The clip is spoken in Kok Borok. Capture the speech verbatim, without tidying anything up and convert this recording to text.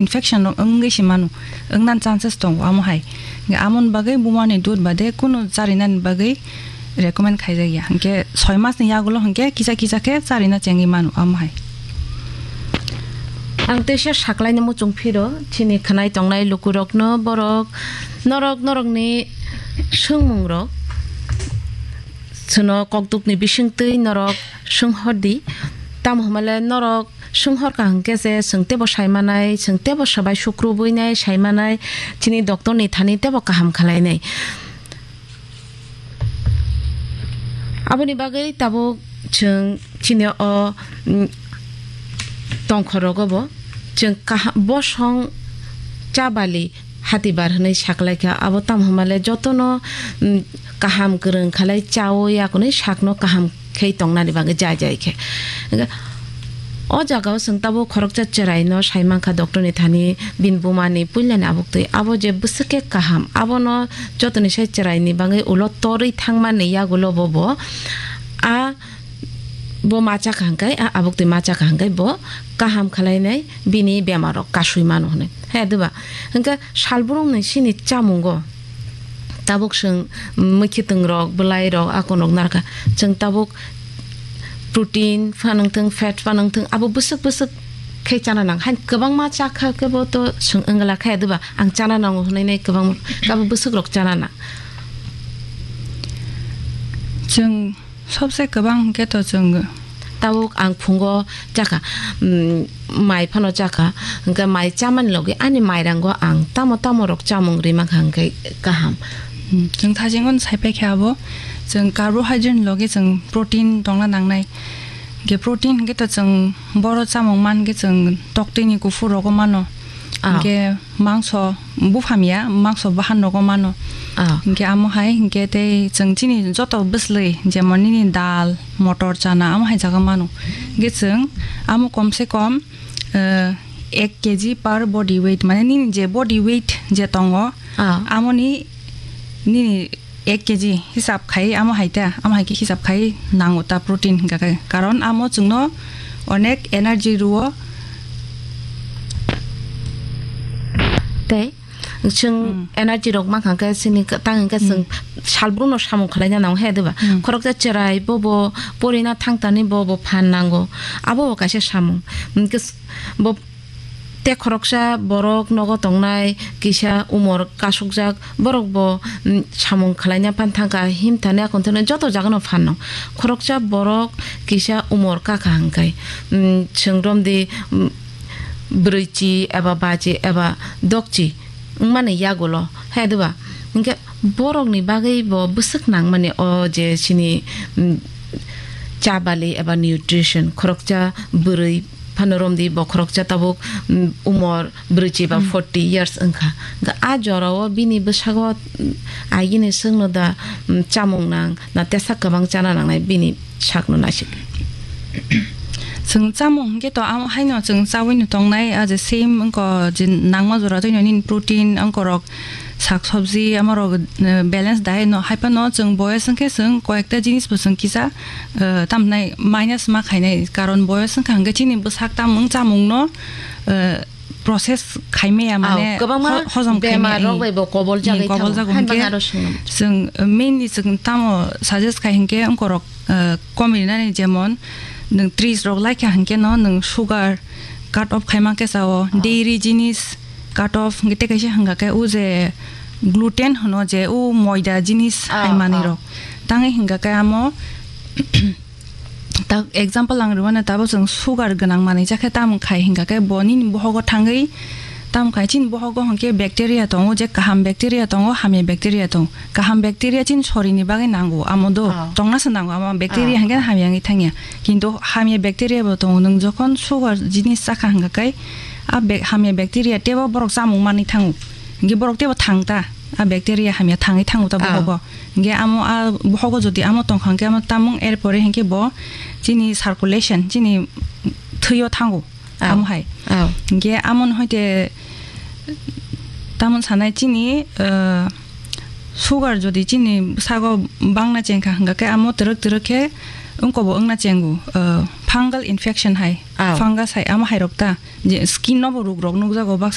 infection rok wngwi se mano, wngna chances tongo amo hai. Hwnkhe amoni bagwi buma ni dud bade kunu charinani bagwi recommend khaijak ya. Hwnkhe soi mas ni yagulo hwnkhe kisa kisa khe charina chengwi mano amo hai. Ang teisa saklaina muchung phiro, chini khwnai tongnai lukurokno borok, norok, norokni swngmungrok, chwngno kokdukni bisingtwi norok swnghordi. Tamo hwnmale norok swnghorkha hwnkhe se chwng teibo saimanai, chwng teibo swbai sukrubuinai saimanai, chini doctorni thani teibo kaham khlainai. Aboni bagwi tabuk chwng chini o, mm, tongkhorogo bo chwng kaha-, bosong chabali hatibar hwnwi saklaikha. Abo tamo hwnmale jotono, mm, kaham kwrwng khalai chaui akonwi sakno kaham khe tongnani bagwi jai jai khe. Hwnkhe o jagao chwng tabuk khoroksa chwraino saimankha doctorni thani bini bumani puilani abuktwi. Abo je bwswk khe kaham, abono jotoni sai chwraini bagwi ulo torwi thangmani yagulo bo bo a bo ma chakha hwnkhe, a abuktwi ma chakha hwnkhe bo kaham khlainai bini bemarrok kasui mano hwnwi. He, diba? Hwnkhe salbrumni chini chamungo tabuk chwng mwkhwtwng rok, bwlai rok, akonok narwkha. Chwng tabuk protein phanwng thwng, fat phanwng thwng, abo bwswk bwswk khe chana nang. Hain kwbangma chakha khe bo to chwng wngla khe, diba? Ang chana nango hwnwi nai kwbangma, abo bwswk rok chana nang. Chwng Sobse kwbang hwnkhe to chwng. Tabuk ang phungo chakha, mm, mai phano chakha, hwnkhe mai chamani logi ani mairango ang tamo tamo rok chamung ri mankha hwnkhe kaham. Hmm, chwng thajingo sai paikha abo, chwng carbohydrate ni logi chwng protein tongna nangnai. Hwnkhe protein hwnkhe to chwng boro chamung mankhe chwng toktwini kuphur rogo mano. Ah. Hwnkhe mangso buphang ya, mangso bahan rogo mano. Ah. Hwnkhe amo hai, hwnkhe tei chwng chini joto bwslwi, jemon nini dal, motor chana, amo hai jaga mano. Hwnkhe chwng amo kom se kom, eh, ek K G per body weight, mane nini je body weight je tongo, ah, amoni nini ek K G hisab khai, amo hai ta, amo hai khe hisab khai nango ta protein hingka khe. Karon amo chwngno onek energy rwo. Tei chwng, hmm, energy rok mankha khe chini tang hingkhe chwng, hmm, salbrumno samung khlaina nango he, diba? Hmm. Khoroksa chwrai bo bo porina thangtani bo bo phan nango. Abo bo kaisa samung. Hingkhe s-, bo Tei khoroksa borok nogo tongnai kisa umor kasukjak borok bo, mm, samung khlaina phan thangkha, himthani akonthani joto jagano phanno. Khoroksa borok kisa umor kakha hwnkhe, mm, chwng romdi, mm, brwichi eba bachi eba dokchi wngmani yagulo, hai diba? Hwnkhe borokni bagwi bo bwswk nangmani o je chini, mm, cha bali eba nutrition, khoroksa bwrwi phano romdi bo khoroksa tabuk, mm, umor brwichi ba, hmm, forty years wngkha. Hwnkhe a jorao bini bwsago, mm, agini swkno da, mm, chamung nang na tesa kwbang chana nangnai bini sakno naisik. Chwng chamung hwnkhe to amo haino chwng chaui no tongnai, a je same wngkha je nangma jora twi no nini protein wngkha rok, sak sabji, amo rok, eh, balance diet no, hai phano chwng boyos wngkhe chwng koyekta jinis bo chwng kisa, eh, tamhinai minus ma khainai, karon boyos wngkha hwnkhe chini bwsak tamung chamung no, eh, process khaimaya, mane kwbangma ho-, hojom bemar khaimaya, rok bai bo kobol jagwi kobol thango. Jago hwnkhe chwng, eh, mainly chwng tamo suggest khai hwnkhe wngkorok, eh, komi rinani, jemon nwng tris rok laikha hwnkhe no nwng sugar cut off khaima khe sao, dairy jinis cut off hwnkhe tei kaisa hwnkha khe o je gluten hwno je o moida jinis hai manwi rok tangwi hwnkha khe amo ta example ang rwmano tabuk chwng sugar gwnang manwi chakhe tamo khai hwnkha khe bo nini bohogo thangwi tamo khai chini bohogo hwnkhe bacteria tongo je kaham bacteria tongo hamya bacteria tongo kaham bacteria chini sorini bagwi nango amo do tongna se nango amo bacteria hwnkhe hamya wngwi thangya kintu hamya bacteria bo tongo nwng jokhon sugar jinis chakha hwnkha khe a be- hamya bacteria teibo borok chamung manwi thango hwnkhe borok teibo thang ta a bacteria hamya thangwi thango ta bohogo. Hingke amo a bohogo jodi amo tongkha hingke amo tamung er pore hingke bo chini circulation chini thwio thango amo hai. Hingke amo no hoite tamon sanai chini, eh, sugar jodi chini sago bangna chengkha hingke amo twrwk twrwk khe wngkobo wngna chengo, eh, fungal infection hai, Oh. fungus hai, ama hai rok ta, je skin no bo ruk rok nukjago, bak